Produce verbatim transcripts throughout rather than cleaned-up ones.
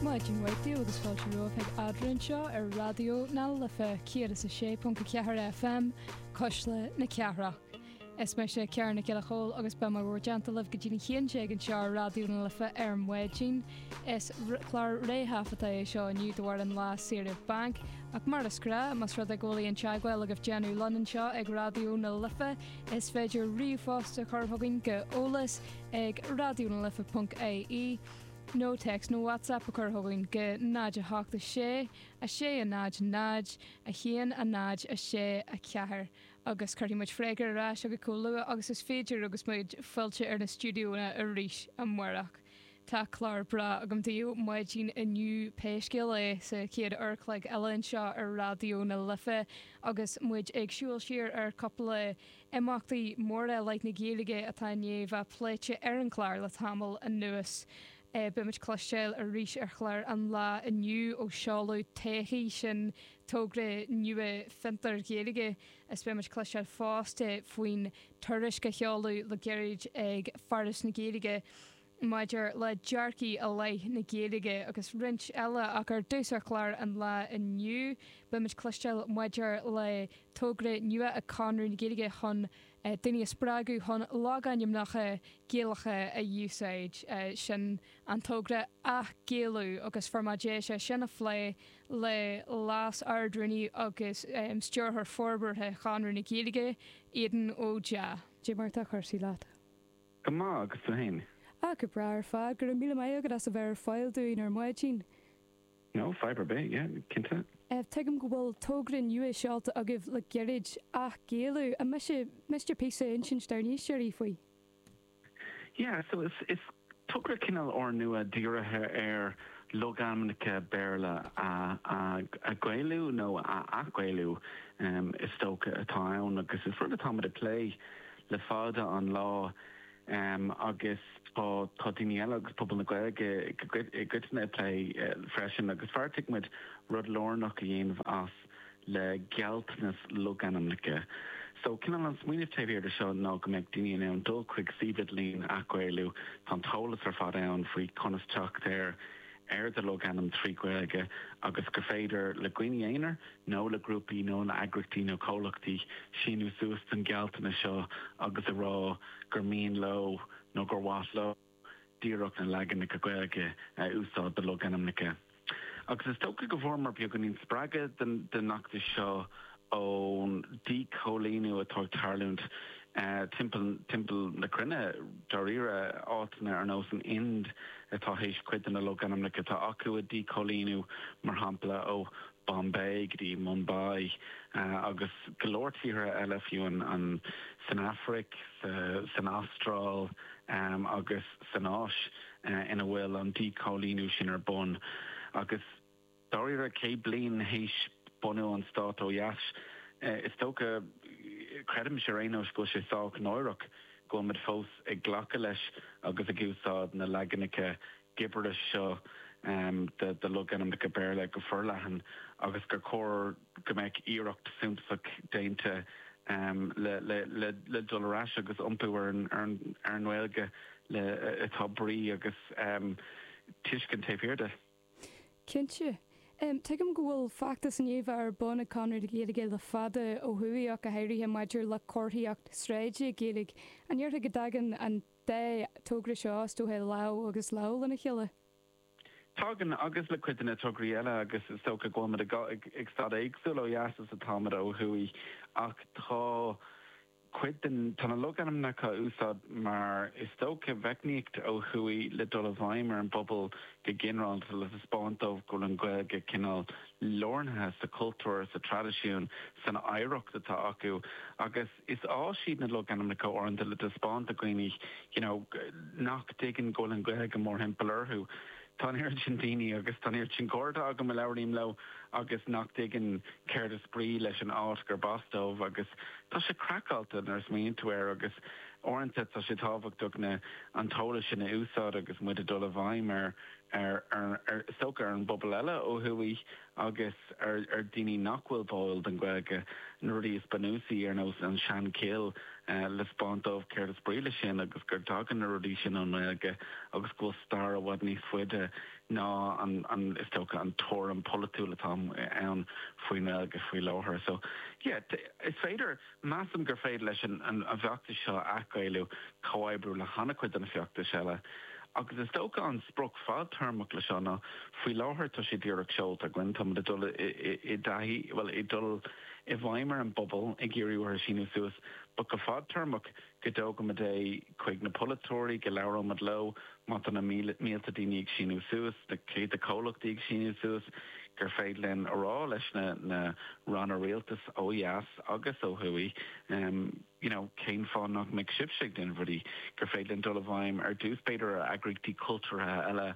Maidin mhaith daoibh agus fáilte romhaibh chuig Eadra anseo ar Raidió na Life céad is a sé ponc a ceathair FM Cuisle na Cathrach. Is mise Ciara Nic Giolla Chóill agus beidh mé i bhur dteannta libh go dtí a haon déag anseo ar Raidió na Life ar maidin. Is clár réthaifeadta é seo inniu de bharr an lá saoire bainc, ach mar is gnách más rud é go bhfuil aon teagmháil agaibh déanamh linn anseo ag Raidió na Life, is féidir ríomhphost a chur chugainn go eolas ag radionalife.ie nó text nó WhatsApp a chur chugainn go náid a hocht a sé a sé a náid náid a haon a náid a sé a ceathair agus cuirfidh muid freagra ar ais chugaibh chomh luath agus is féidir agus muid fillte ar na stiúideonna arís amárach. Tá clár breá agam daoibh maidin inniu pé scéal é sa chéad uair an chloig eile anseo ar Raidió na Life agus muid ag siúl siar ar cúpla imeachtaí móra i leith na Gaeilge atá i ndiaidh bheith pléite ar an chlár le tamall anuas. Eh, Beimid ag cloisteáil arís ar chlár an lae inniu ó seoladh Todhchaí sin togra nua fiontar Gaeilge is beimid ag cloisteáil fosta faoin tuairisc a sheoladh le gairid ag Foras na Gaeilge maidir le dearcaí i leith na Gaeilge agus roinnt eile ach ar dtús ar chlár an lae inniu, beimid ag cloisteáil maidir le togra nua ag Conradh na Gaeilge chun eh, daoine a spreagadh chun logainmneacha Gaelacha a úsáid eh, sin an togra Athghaelú agus fuair mé deis é sin a phlé le Leas-Ard-Rúnaí agus um, Stiúrthóir Forbartha Chonradh na Gaeilge Aidan Ó Deá. Cad é mar atá cúrsaí leat. Go maith agus tú féin. Á go breá ar fad go raibh míle maith agat as a bheith ar fáil dúinn ar maidin. No, fadhb ar bith, yeah, cinnte. Eh, Tuigim go bhfuil togra nua seolta agaibh le gairid Athghaelú an miste píosa a insint dár n-éisteoirí faoi. Yeah, so is is togra cineál úrnua dírithe ar logainmneacha Béarla a a a Ghaelú nó a athghaelú um, is dócha atá ann agus is rud atáimid ag plé le fada an lá um, agus tá tá daoine eile agus pobal na Gaeilge i gcoitinne ag plé uh, freisin agus bheartaigh muid rud lárnach a dhéanamh as le gealltanas logainmneacha. So cineál an smaoineamh taobh thiar de seo ná go mbeidh daoine in ann dul chuig suíomh idirlín Athghaelú tá an t-eolas ar fad ann faoi conas teacht ar ar do logainm trí Ghaeilge agus gur féidir le daoine aonair nó le grúpaí nó le heagraíochtaí nó comhlachtaí síniú suas den gealltanas seo agus a rá gur mian leo nó gur mhaith leo díreach na leaganacha Gaeilge a úsáid do logainmneacha. Agus is dócha go bhfuaireamar beagáinín spreagadh den den fheachtas seo ón díchoilíniú atá ag tarlúint uh, timpeall timpeall na cruinne dáiríre áiteanna ar nós an Ind atá théis cuid de na logainmneacha atá acu a dhíchoilíniú mar shampla ó Bombay go dtí Mumbai uh, agus go leor tíortha eile fiú an, an san Afraic, sa, san Astráil um, agus san Áis uh, ina bhfuil an díchoilíniú sin ar bun agus dáiríre céad bliain théis bunú an stát ó dheas uh, is dócha creidim sé rénos go sé sách náireach go bhfuil muid fós ag glacadh leis agus ag úsáid na leaganacha gibris seo um, de, de logainmneacha Béarla go forleathan agus gur chóir go mbeadh iarracht suntasach déanta um, le, le, le, le dul ar ais agus iompú ar an, ar an, ar an nGaeilge le atá brí agus um, tuiscint taobh thiar de. Cinnte. Um, Tuigim go bhfuil feachtas i ndiaidh bheith ar bun ag Conradh na Gaeilge le fada ó thuaidh ach go háirithe maidir le comharthaíocht sráide Gaeilge. An ndéarfá go dtagann an dá togra seo is dócha lámh agus lámh lena chéile. Tagann agus le cuid de na tograí eile agus is dócha go bhfuil ag ag staid éagsúil ó dheas is atáimid ó thuaidh ach tá cuid den tá na logainmneacha á úsáid mar is dócha meicníocht ó thuaidh le dul i bhfeidhm ar an bpobal go ginearálta le taispeáint dóibh go bhfuil an Ghaeilge cineál lárnaithe sa cultúr sa traidisiún san oidhreacht atá acu agus is áis iad na logainmneacha uaireanta le taispeáint do dhaoine you know, nach dtuigeann go bhfuil an Ghaeilge mórthimpeall orthu. Tá oiread sin daoine agus tá oiread sin cairde agam a labhraím leo agus nach dtuigeann céard is brí leis an áit gur as dóibh agus tá sé craiceáilte nuair a smaoiníonn tú air agus uaireanta tá sé tábhachtach na an t-eolas sin a úsáid agus muid ag dul i bhfeidhm ar ar ar ar socha ar an bpobal eile ó thuaidh agus ar ar daoine nach bhfuil báúil don Ghaeilge na rudaí is bunúsaí ar nós an Seanchill le 'spáint dóibh céard is brí leis sin agus gur tagann na rudaí sin ón nGaeilge agus go bhfuil stair i bhfad níos faide ná an an is dócha an tuairim polaitiúil atá ann faoin nGaeilge faoi láthair. So yeah, is féidir measaim gur féidir leis an an bhfeachtas seo athghaelú comhoibriú le han-chuid de na feachtais eile. Agus is dócha an sprioc fadtéarmach leis seo ná faoi láthair tá sé díreach seolta againn tá ag dul i dtaithí well ag dul i bhfeidhm ar an bpobal ag iarraidh orthu síniú suas, but go fadtéarmach go dtógfaimid é chuig na polaiteoirí go labhróimid leo má tá na mílte daoine ag síniú suas, na céadta comhlachtaí ag síniú suas, gur féidir linn a rá leis na na ranna rialtais ó dheas agus ó thuaidh um, you know, cén fáth nach mbeidh sibhse ag déanamh rudaí gur féidir linn dul i bhfeidhm ar dtús b'fhéidir ar eagraíochtaí cultúrtha eile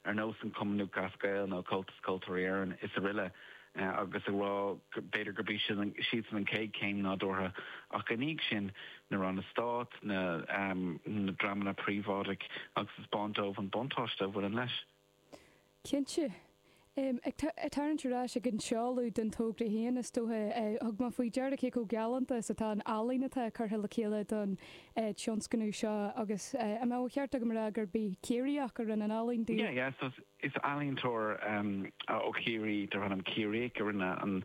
ar nós an Cumann Lúthchleas Gael nó Comhaltas Ceoltóirí Éireann is araile. agus a rá b'fhéidir gurb siadsan an chéad chéim nádúrtha ach ina dhiaidh sin na ranna stáit na um, na dreamanna príobháideach agus 'spáint dóibh an buntáiste a bhaineann leis. Cinnte. Um, ag tarraingt ar ais ag an seoladh den togra féin is dócha thug mé faoi deara cé chomh galánta is atá an ealaín atá curtha le chéile don tionscnamh seo agus an mbeadh ceart agam rá gurb é Ciarraíoch a rinne an ealaín dúinn. Yeah, yeah, so is ealaíontóir um, ó Chiarraí darb ainm Ciarraíoch a rinne an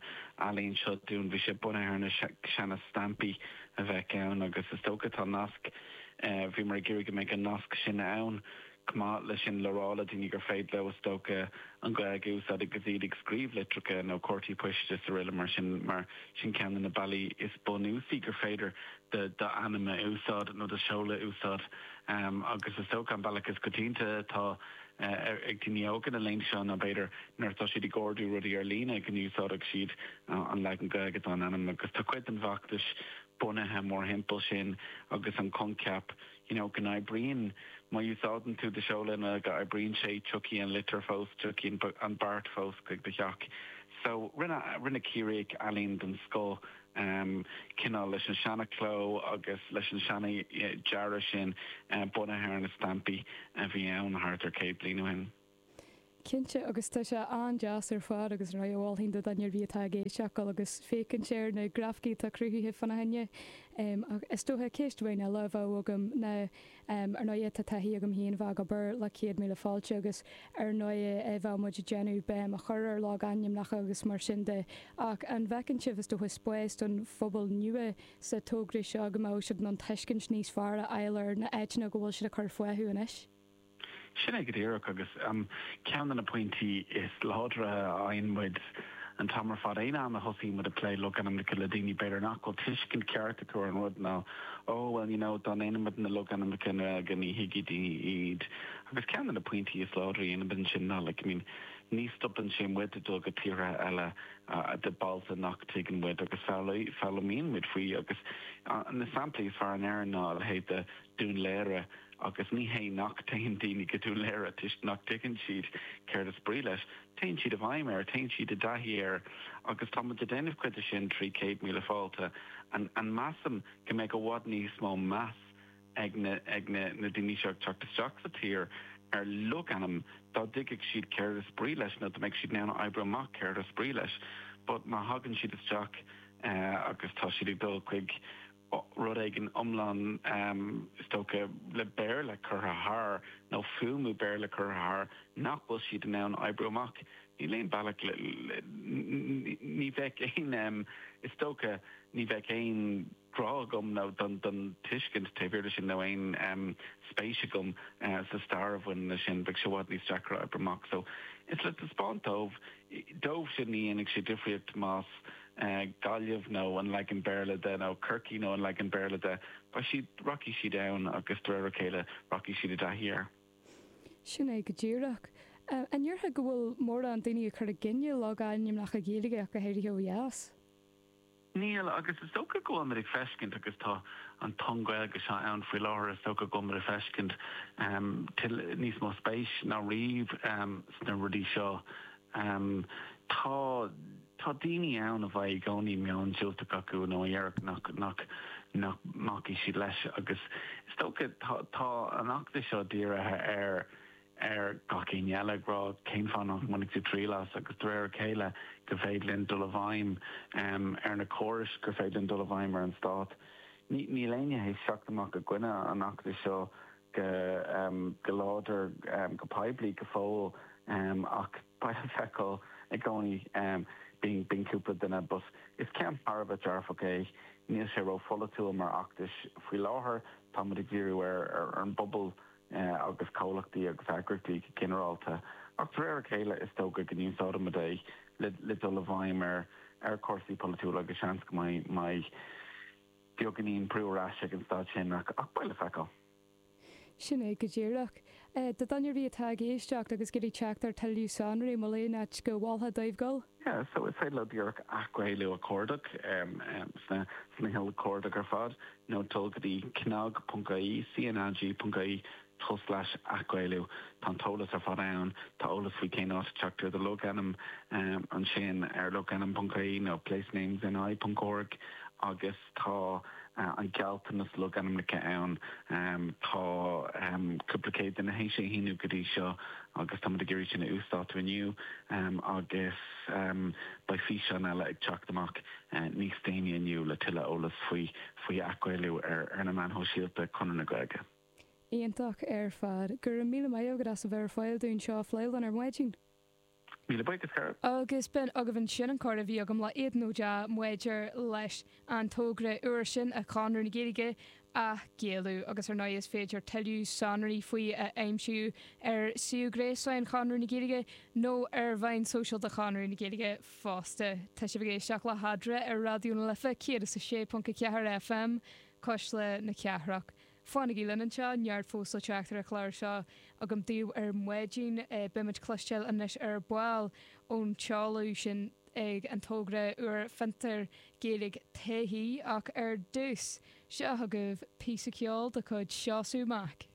ealaín seo dúinn bhí sé bunaithe ar na seana stampaí a bheith ann agus is dócha tá nasc uh, bhí mar gur go mbeidh an nasc sin ann chomh maith leis sin le rá le daoine gur féidir leo is dócha an Ghaeilge a úsáid agus iad ag scríobh litreacha nó cártaí poist is araile mar sin mar sin ceann de na bealaí is bunúsaí gur féidir d'ainm a úsáid nó do sheoladh a úsáid um, agus is dócha an bealach is coitianta atá uh, ag daoine óga na laethanta seo ná b'fhéidir nuair atá siad ag ordú rudaí ar líne go n-úsáideann siad uh, an leagan Gaeilge den ainm agus tá cuid den bhfeachtas bunaithe mórthimpeall sin agus an coincheap you know, go n-oibríonn má úsáideann tú do sheoladh na go oibríonn sé tiocfaidh an litir fós tiocfaidh an beart fós chuig do theach. So rinne rinne Ciarraíoch ealaín den scoth um, cineál leis an seanachló agus leis an seana dearadh sin uh, bunaithe ar na stampaí a bhí ann thart ar céad bliain ó shin. Cinnte agus tá sé an-deas ar fad agus ra bhhain do ar bhí atá géiseach agus fécinn sé na grafcí tá cruthaithe fána choinne. Is dócha ceist amháin eile a bheadh agam na ar ndóigh tá taithí agam féin bheith ag obair le céad míle fáilte agus ar ndóigh bheadh muid ag déanamh béim a chur ar logainmneacha agus mar sin de ach an bhfeiceann sibh is dócha spás don phobal nua sa togra seo go mbeadh siad in ann tuiscint níos fearr a fháil ar na háiteanna go bhfuil siad ag cur fúthu anois. Sin é go díreach agus um, ceann de na pointí is láidre a fhaigheann muid an t-am ar fad aon am a thosaíonn muid ag plé logainmneacha le daoine b'fhéidir nach bhfuil tuiscint ceart acu ar an rud ná oh well you know dá ndéanfaimid na logainmneacha go ní thuigfidh daoine iad. Agus ceann de na pointí is láidre a dhéanaimid sin ná like, I mean, ní stopann sé muid ag dul go tíortha eile uh, de bailte nach dtuigeann muid agus foghlaimíonn muid faoi agus uh, na samplaí is fearr in Éirinn ná a leithéid de Dún Laoghaire agus ní hé nach dtéann daoine go Dún Laoghaire toisc nach dtuigeann siad céard is brí leis. Téann siad i bhfeidhm air, téann siad i dtaithí air agus tá muid ag déanamh cuid de sin trí céad míle fáilte an, an measaim go mbeidh i bhfad níos mó meas ag na, ag na, na daoine seo ag teacht isteach sa tír ar logainm dá dtuigfeadh siad céard is brí leis nó dá mbeadh siad in ann oibriú amach céard is brí leis. But má thagann siad isteach uh, agus tá siad ag dul chuig rud éigin iomlán um, is dócha le Béarla curtha thar nó fuaimniú Béarla curtha thar nach bhfuil siad in ann oibriú amach. Níl aon bealach ní bheadh aon um, is dócha ní bheadh aon grá agam nó don don tuiscint taobh thiar de sin nó aon um, spéis agam uh, sa stair a bhain leis sin bheadh sé i bhfad níos deacra oibriú amach. So is le taispeáint dóibh dóibh sin ní dhéanfaidh sé difríocht más uh, Gaillimh nó an leagan Béarla de nó Corcaigh nó an leagan Béarla de, ba siad rachaidh siad ann agus de réir a chéile rachaidh siad i dtaithí air. Sin é go díreach. Uh, an ndéarfá go bhfuil mórán daoine ag cur i gcoinne logainmneacha Gaeilge ach go háirithe ó dheas. Níl agus is dócha go bhfuil ag feiscint agus tá an tonn Gaeilge seo ann faoi láthair is dócha go bhfuil ag feiscint um, níos mó spéis ná riamh um, sna rudaí seo. Um, tá tá daoine ann a bheidh i gcónaí meon diúltach acu nó dhéarfadh nach nach nach mbacfaidh siad leis agus is dócha tá tá an fheachtas seo dírithe ar ar gach éinne eile ag rá cén fáth nach mbainfidh tú triail as agus de réir a chéile go féidir linn dul i bhfeidhm um, ar na córais gur féidir linn dul i bhfeidhm ar an stát. Níl éinne théis teacht amach i gcoinne an fheachtais seo go go láidir go poiblí go fóill ach beidh le feiceáil i gcónaí bíonn bíonn cúpla duine but is ceann thar a bheith dearfach é. Níl sé rópholaitiúil mar fheachtas faoi láthair, táimid ag díriú ar ar an bpobal agus comhlachtaí agus eagraíochtaí go ginearálta ach de réir a chéile is dócha go n-úsáidfimid é le le dul i bhfeidhm ar ar chúrsaí polaitiúla agus seans go mbeidh mbeidh beagáinín brú ar ais ag an staid sin ach ach beidh le feiceáil. Sin é go díreach. Do dhuine ar bith atá ag éisteacht agus ag iarraidh teacht ar tuilleadh sonraí, an bhfuil aon áit go mholfá dóibh dul? Yeah, so is féidir leo díreach athghaelú a chuardach sna sna huilchuardaigh ar fad nó dul go dtí cnag ponc ie, cnag ponc ie tulslais athghaelú. Tá an t-eolas ar fad ann, tá eolas faoi cén áit a teacht ar do logainm ansin ar logainm ponc ie nó placenamesni ponc org agus tá an gealltanas logainmneacha ann. Tá cúpla céad duine théis é a shíniú go dtí seo agus táimid ag iarraidh sin a uasdátú inniu agus beidh físeán eile ag teacht amach níos déanaí inniu le tuilleadh eolas faoi faoi athghaelú ar ar na meáin shóisialta Conradh na Gaeilge. Iontach ar fad. Go raibh míle maith agat as a bheith ar fáil dúinn seo a phlé linn ar maidin. Míle buíochas, Cara. Agus b'in agaibh ansin an comhrá a bhí agam le Aidan Ó Deá maidir leis an togra úr sin a Chonradh na Gaeilge Athghaelú agus ar ndóigh is féidir tuilleadh sonraí faoi a aimsiú ar suíomh gréasáin Chonradh na Gaeilge nó ar mheáin sóisialta Chonradh na Gaeilge fosta. Tá sibh ag éisteacht le hEadra ar Raidió na Life céad is a sé ponc a ceathair FM, Cuisle na Cathrach. Fanaigí linn anseo, neart fós le teacht ar an chlár seo agam daoibh ar maidin. Beimid ag cloisteáil anois ar ball ón tseoladh sin ag an togra úr Fiontar Gaeilge Taithí ach ar dtús, seo chugaibh píosa ceoil de chuid Seosamh Mac.